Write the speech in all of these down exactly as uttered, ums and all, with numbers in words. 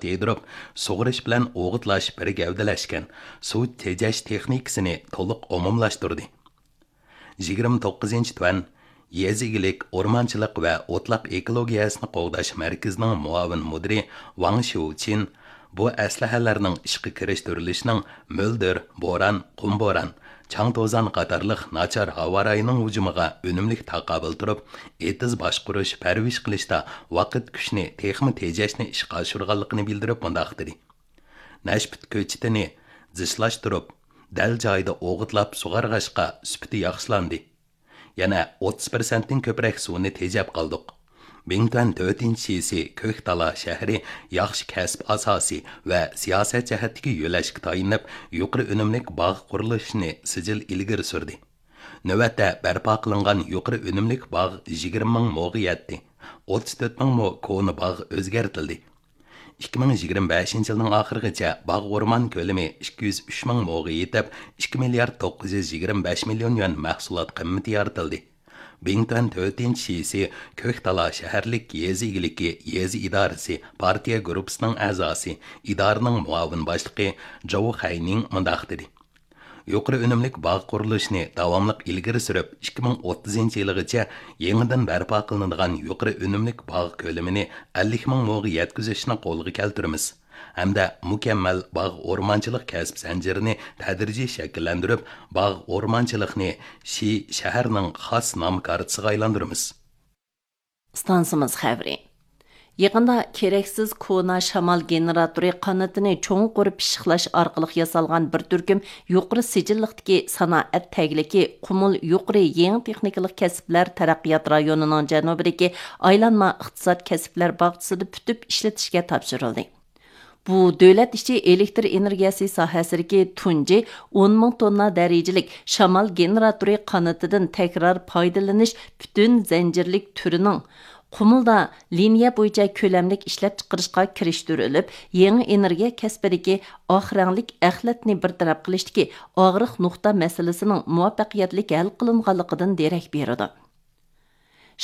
تېيدۇرۇپ، سۇغىرىش بىلەن ئوغۇتلاش بىر گەۋدىلەشكەن سۇ تېجەش تېخنىكىسىنى تولۇق ئومۇملاشتۇردى. يىگىرمە توققۇزىنچى تۈەن يېزا ئىگىلىك، ئورمانچىلىق ۋە ئوتلاق ئېكولوگىيەسىنى قوغداش مەركىزىنىڭ مۇئاۋىن مۇدىرى ۋاڭ شيۇچىن بۇ ئەسلىھەلەرنىڭ ئىشقا كىرىشتۈرۈلۈشىنىڭ مۆلدۈر، بوران، قۇم بوران، چاڭ توزان قاتارلىق ناچار ھاۋا رايىنىڭ ھۇجۇمىغا ئۈنۈملۈك تاقابىل تۇرۇپ، ئېتىز باشقۇرۇش، پەرۋىش قىلىشتا ۋاقىت كۈچنى تېخىمۇ تېجەشنى ئىشقا ئاشۇرغانلىقىنى بىلدۈرۈپ مۇنداق دېدى: نەشپۈت كۆچىتىنى زىچلاشتۇرۇپ، دەل جايىدا ئوغۇتلاپ سۇغارغاچقا، سۈپىتى ياخشىلاندى. يەنە ئوتتۇز پىرسەنتتىن كۆپرەك سۇنى تېجەپ قالدۇق. بىڭتۈەن تۆتىنچى شىسى كۆك تالا شەھىرى ياخشى كەسىپ ئاساسى ۋە سىياسەت جەھەتتىكى يۆلەشكە تايىنىپ، يۇقىرى ئۈنۈملۈك باغ قۇرۇلۇشىنى سىجىل ئىلگىرى سۈردى. نۆۋەتتە بەرپا قىلىنغان يۇقىرى ئۈنۈملۈك باغ يىگىرمە مىڭ موغا يەتتى. ئوتتۇز تۆت مىڭ مو كونا باغ ئۆزگەرتىلدى. ئىككى مىڭ يىگىرمە بەشىنچى يىلنىڭ ئاخىرىغىچە باغ ئورمان كۆلىمى ئىككى يۈز ئۈچ مىڭ موغا يېتىپ، ئىككى مىليارد توققۇز يۈز يىگىرمە بەش مىليون يۈەن مەھسۇلات قىممىتى يارىتىلدى. بىڭتۈەن تۆتىنچى شىسى كۆك تالا شەھەرلىك يېزا ئىگىلىكى يېزا ئىدارىسى پارتىيە گۇرۇپپىسىنىڭ ئەزاسى، ئىدارىنىڭ مۇئاۋىن باشلىقى جاۋ خەينىڭ مۇنداق دېدى: يۇقىرى ئۈنۈملۈك باغ قۇرۇلۇشىنى داۋاملىق ئىلگىرى سۈرۈپ، ئىككى مىڭ ئوتتۇزىنچى يىلىغىچە يېڭىدىن بەرپا قىلىنىدىغان يۇقىرى ئۈنۈملۈك باغ كۆلىمىنى ئەللىك مىڭ موغا يەتكۈزۈشنى قولغا كەلتۈرىمىز ھەمدە مۇكەممەل باغ ئورمانچىلىق كەسىپ زەنجىرىنى تەدرىجىي شەكىللەندۈرۈپ، باغ ئورمانچىلىقنى شى شەھەرنىڭ خاس نام كارتىسىغا ئايلاندۇرىمىز. ئىستانسىمىز خەۋىرى. يېقىندا كېرەكسىز كونا شامال گېنېراتورى قانىتىنى چوڭقۇر پىششىقلاش ئارقىلىق ياسالغان بىر تۈركۈم يۇقىرى سىجىللىقتىكى سانائەت تەگلىكى قۇمۇل يۇقىرى يېڭى تېخنىكىلىق كەسىپلەر تەرەققىيات رايونىنىڭ جەنۇبىدىكى ئايلانما ئىقتىساد كەسىپلەر باغچىسىدا پۈتۈپ ئىشلىتىشكە تاپشۇرۇلدى. بۇ دۆلەت ئىچى ئېلېكتر ئېنېرگىيەسى ساھەسىدىكى تۇنجى ئون مىڭ توننا دەرىجىلىك شامال گېنېراتورى قانىتىدىن تەكرار پايدىلىنىش پۈتۈن زەنجىرلىك تۈرىنىڭ قۇمۇلدا لىنىيە بويىچە كۆلەملىك ئىشلەپچىقىرىشقا كىرىشتۈرۈلۈپ، يېڭى ئېنېرگىيە كەسپىدىكى ئاق رەڭلىك ئەخلەتنى بىر تەرەپ قىلىشتىكى ئاغرىق نۇقتا مەسىلىسىنىڭ مۇۋەپپەقىيەتلىك ھەل قىلىنغانلىقىدىن دېرەك بېرىدۇ.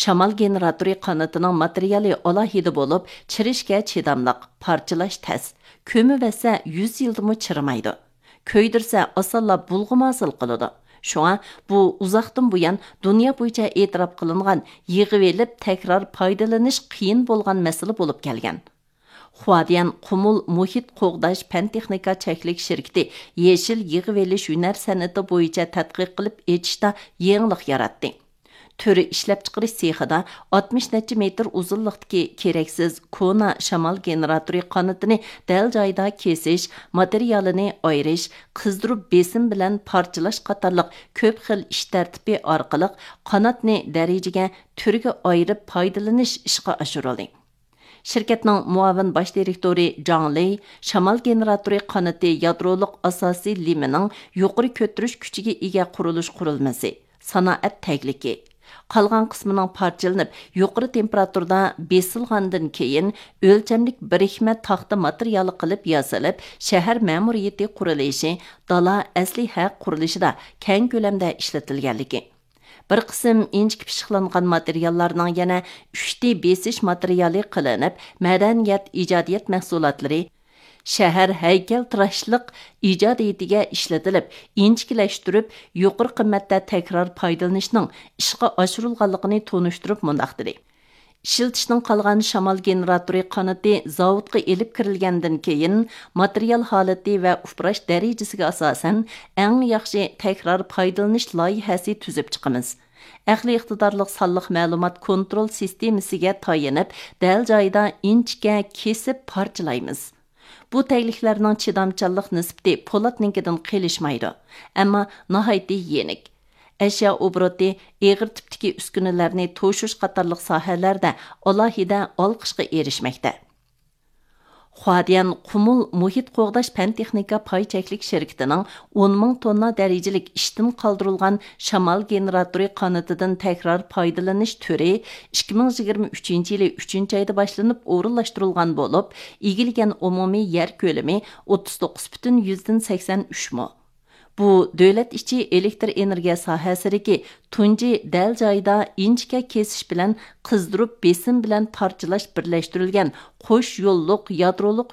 شامال گېنېراتورى قانىتىنىڭ ماتېرىيالى ئالاھىدە بولۇپ، چىرىشكە چىداملىق، پارچىلاش تەس، كۆمۈۋەتسە يۈز يىلدىمۇ چىرىمايدۇ. كۆيدۈرسە ئاسانلا بۇلغىما ھاسىل قىلىدۇ. شۇڭا بۇ ئۇزاقتىن بۇيان دۇنيا بويىچە ئېتىراپ قىلىنغان يىغىۋېلىپ تەكرار پايدىلىنىش قىيىن بولغان مەسىلە بولۇپ كەلگەن. خۇاديەن قۇمۇل مۇھىت قوغداش پەن تېخنىكا چەكلىك شىركىتى يېشىل يىغىۋېلىش ھۈنەر سەنئىتى بويىچە تەتقىق قىلىپ ئېچىشتا يېڭىلىق ياراتتى. تۈر ئىشلەپچىقىرىش سېخىدا ئاتمىش نەچچە مېتىر ئۇزۇنلۇقتىكى كېرەكسىز كونا شامال گېنېراتورى قانىتىنى دەل جايىدا كېسىش، ماتېرىيالىنى ئايرىش، قىزدۇرۇپ بېسىم بىلەن پارچىلاش قاتارلىق كۆپ خىل ئىش تەرتىپى ئارقىلىق قاناتنى دەرىجىگە، تۈرگە ئايرىپ پايدىلىنىش ئىشقا ئاشۇرۇلدى. شىركەتنىڭ مۇئاۋىن باش دىرېكتورى جاڭ لېي شامال گېنېراتورى قانىتى يادرولۇق ئاساسىي لېمىنىڭ يۇقىرى كۆتۈرۈش كۈچىگە ئىگە قۇرۇلۇش قۇرۇلمىسى، سانائەت تەگلىكى، قالغان قىسمىنىڭ پارچىلىنىپ، يۇقىرى تېمپېراتۇرىدا بېسىلغاندىن كېيىن، ئۆلچەملىك بىرىكمە تاختا ماتېرىيالى قىلىپ ياسىلىپ، شەھەر مەمۇرىيىتى قۇرۇلۇشى، دالا ئەسلىھە قۇرۇلۇشىدا كەڭ كۆلەمدە ئىشلىتىلگەنلىكى، بىر قىسىم ئىنچىكە پىششىقلانغان ماتېرىياللارنىڭ يەنە ئۈچ دى بېسىش ماتېرىيالى قىلىنىپ، مەدەنىيەت، ئىجادىيەت مەھسۇلاتلىرى، شەھەر ھەيكەلتىراشلىق ئىجادىيىتىگە ئىشلىتىلىپ، ئىنچىكىلەشتۈرۈپ، يۇقىرى قىممەتتە تەكرار پايدىلىنىشنىڭ ئىشقا ئاشۇرۇلغانلىقىنى تونۇشتۇرۇپ مۇنداق دېدى: ئىشلىتىشنىڭ قالغان شامال گېنېراتورى قانىتى زاۋۇتقا ئېلىپ كىرىلگەندىن كېيىن، ماتېرىيال ھالىتى ۋە ئۇپراش دەرىجىسىگە ئاساسەن، ئەڭ ياخشى تەكرار پايدىلىنىش لايىھەسى تۈزۈپ چىقىمىز. ئەقلىي ئىقتىدارلىق سانلىق مەلۇمات كونترول سىستېمىسىگە تايىنىپ، دەل جايىدا ئىنچىكە كېسىپ پارچىلايمىز. بۇ تەگلىكلەرنىڭ چىدامچانلىق نىسبىتى پولاتنىڭكىدىن قېلىشمايدۇ، ئەمما ناھايىتى يېنىك. ئەشيا ئوبوروتى، ئېغىر تىپتىكى ئۈسكۈنىلەرنى توشۇش قاتارلىق ساھەلەردە ئالاھىدە ئالقىشقا ئېرىشمەكتە. خۇاديەن قۇمۇل مۇھىت قوغداش پەن تېخنىكا پاي چەكلىك شىركىتىنىڭ ئون مىڭ توننا دەرىجىلىك ئىشتىن قالدۇرۇلغان شامال گېنېراتورى قانىتىدىن تەكرار پايدىلىنىش تۈرى ئىككى مىڭ يىگىرمە ئۈچىنچى يىلى ئۈچىنچى ئايدا باشلىنىپ ئورۇنلاشتۇرۇلغان بولۇپ، ئىگىلىگەن ئومۇمىي يەر كۆلىمى ئوتتۇز توققۇز پۈتۈن يۈزدىن سەكسەن ئۈچ مو. بۇ دۆلەت ئىچى ئېلېكتر ئېنېرگىيە ساھەسىدىكى تۇنجى دەل جايىدا ئىنچىكە كېسىش بىلەن قىزدۇرۇپ بېسىم بىلەن پارچىلاش بىرلەشتۈرۈلگەن قوش يوللۇق يادرولۇق